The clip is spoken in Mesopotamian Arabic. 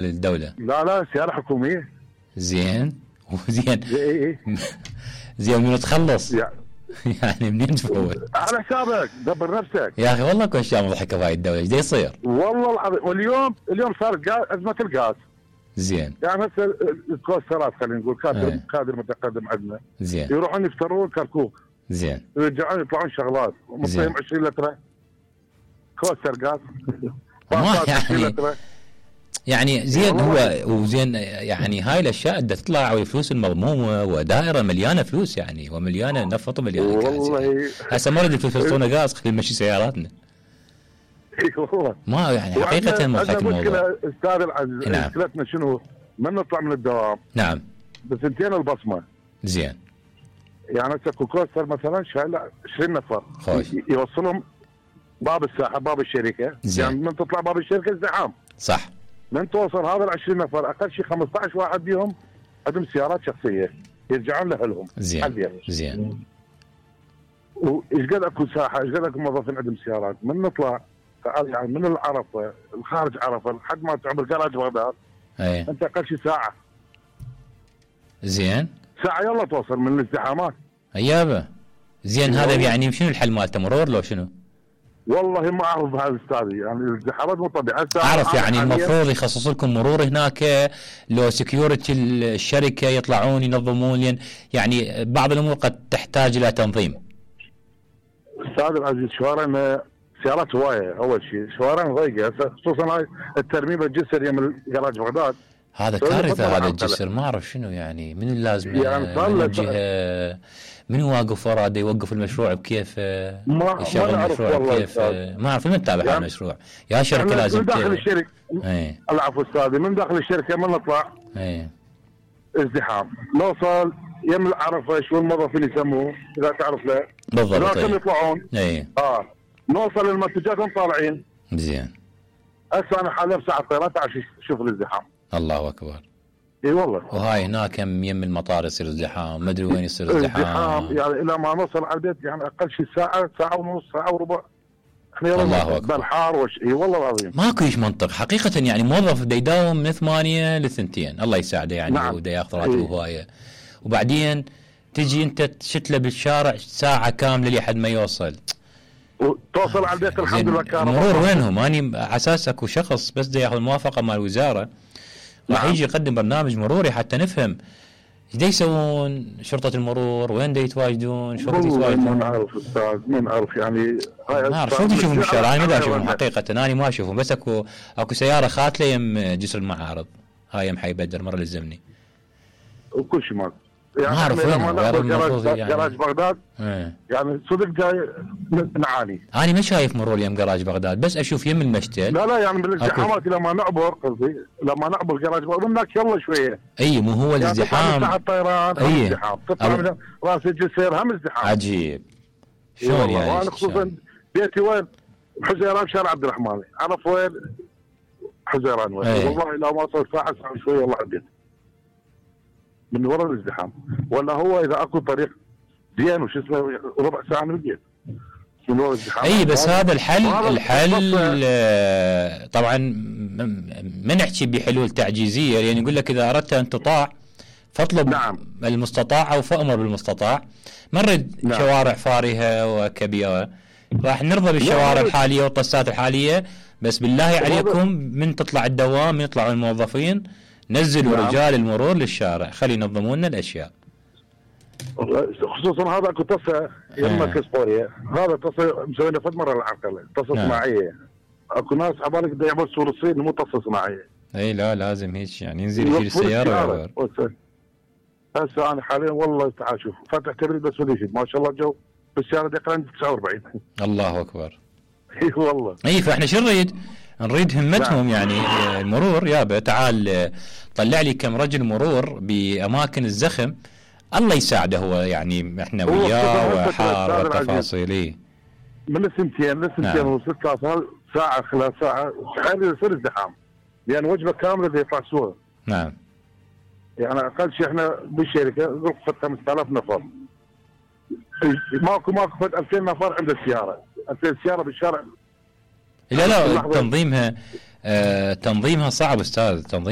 للدولة؟ لا سيارة حكومية. زين وزين. ايه زين من تخلص يعني يعني منين تفوت؟ على حسابك دبر نفسك يا اخي والله كل اشياء مضحكه في هاي الدوله، ايش يصير؟ والله العظيم. واليوم صار ازمه الغاز. زين. يعني هسه الكوسترات خلينا نقول كادر متقدم عندنا. زين. يروحون يفترون كركوك. زين. يرجعون يطلعون شغلات مصيهم 20 لتر كوستر غاز. ما يعني زين هو وزين يعني هاي الاشياء بدها تطلع والفلوس المضمومه ودائره مليانه فلوس يعني ومليانه نفط ومليانه غاز. والله هسه ما نريد الفلوس يعطونا غاز خلينا نمشي سياراتنا. اي والله ما يعني حقيقه مضحك الموضوع. مشكله استاذ العزيز. مشكلتنا شنو؟ من نطلع من الدوام. نعم. بسنتين البصمه. زين. يعني هسه كوستر مثلا شايل 20 نفر. خوش. يوصلهم باب الساحه باب الشركه. زين. يعني من تطلع باب الشركه ازدحام. صح. من توصل هذا ال 20 نفر اقل شيء 15 واحد بيهم عندهم سيارات شخصيه يرجعون لاهلهم. زين. زين. وايش قد اكو ساحه ايش قد اكو موظفين عندهم سيارات. من نطلع يعني من العرفه الخارج عرفه لحد ما تعمل جراج بغداد. اي. انت اقل شيء ساعه. زين. ساعه يلا توصل من الازدحامات. ايابه. زين هذا يعني شنو الحل مالته مرور لو شنو؟ والله ما اعرف هذا استاذي يعني الازدحامات مو طبيعيه. اعرف يعني المفروض يخصص لكم مرور هناك لو سكيورتي الشركه يطلعون ينظمون لين يعني بعض الامور قد تحتاج الى تنظيم. استاذ العزيز شوارعنا سيارات هوايه اول شيء شوارعنا ضيقه خصوصا هاي الترميم الجسر يم جراج بغداد. هذا كارثه هذا الجسر ما اعرف شنو يعني من اللازم يعني من الجهه من واقف وراه دا يوقف المشروع بكيفه يشغل المشروع بكيفه ما اعرف من تتابع يعني المشروع يا شركه لازم من داخل الشركه. العفو استاذي من داخل الشركه من نطلع ازدحام نوصل يم العرفه شو الموظفين يسموه اذا تعرف له بالضبط. لازم يطلعون نوصل المنتجات طالعين. زين. هسه انا حاليا بساعه الطيران تعال شوف الازدحام. الله اكبر. اي والله. وهاي هناك يم المطار يصير ازدحام ما ادري وين يصير ازدحام يعني الى ما نوصل على البيت يعني اقل شيء ساعه ونص ساعه وربع. احنا الله اكبر. بالحار اي والله العظيم. ماكو ايش منطق حقيقه يعني موظف بده يداوم من 8 ل 2 الله يساعده يعني. نعم. وده ياخذ راتبه هوايه وبعدين تجي انت تشتله بالشارع ساعه كامله لحد ما يوصل. وتوصل على البيت الحمد لله كهرباء. المرور وينهم؟ اني على اساس اكو شخص بس بده ياخذ الموافقه مال الوزاره راح يجي يقدم برنامج مروري حتى نفهم ايش يسوون شرطه المرور وين دا يتواجدون شرطه يتواجدون. ما نعرف استاذ ما نعرف يعني ما اعرف شو تشوفون بالشارع انا ما اشوفهم حقيقه انا ما اشوفهم بس اكو سياره خاتله يم جسر المعارض هاي يم حي بدر مره للزمني وكل شيء ماكو يعني ما اعرف وين جراج بغداد يعني صدق جاي نعاني. انا ما شايف مرور يم جراج بغداد بس اشوف يم المشتل. لا يعني بالازدحامات لما نعبر قصدي لما نعبر جراج بغداد هناك يلا شويه. اي مو هو الازدحام. يعني الطيران ازدحام تطلع من راس الجسر هم ازدحام. عجيب. شلون يعني؟ وانا خصوصا بيتي وين؟ حزيران شارع عبد الرحمن عرف وين؟ حزيران وين؟ والله لو ما صار ساعه شويه والله عديت. من وراء الازدحام ولا هو اذا اكو طريق زين وش اسمه ربع ساعه من البيت من وراء الازدحام. اي بس هذا الحل طبعا ما نحكي بحلول تعجيزيه يعني يقول لك اذا اردت ان تطاع فاطلب. نعم. المستطاع او فامر بالمستطاع. ما نريد شوارع فارهه وكبيره راح نرضى بالشوارع الحاليه والطسات الحاليه بس بالله عليكم من تطلع الدوام من يطلعوا الموظفين نزلوا رجال المرور للشارع خلي ينظموا لنا الاشياء. خصوصا هذا اكو طصه يمه كسبوريا هذا طصه مسوينا فد مره العقله طصه صناعيه. اكو ناس عبالك بده يعمل سور الصين مو طصه صناعيه. اي لا لازم هيك يعني ينزل يشيل السياره. هسه انا حاليا والله تعال شوف فاتح تبريد بس ودي ما شاء الله الجو بالسياره دقيقه 49. الله اكبر. اي والله. اي فاحنا شو نريد همتهم يعني المرور يابا تعال طلع لي كم رجل مرور باماكن الزخم الله يساعده هو يعني احنا وياه وحار والتفاصيل. من السنتين و6 ساعه خلال ساعه تخيل يصير ازدحام لان وجبه كامله بده يطلع سوق. نعم. يعني اقل شيء احنا بالشركه غرفه 5000 نفر ماكو 2000 نفر عند السياره 2000 سياره بالشارع. لا تنظيمها صعب استاذ تنظيم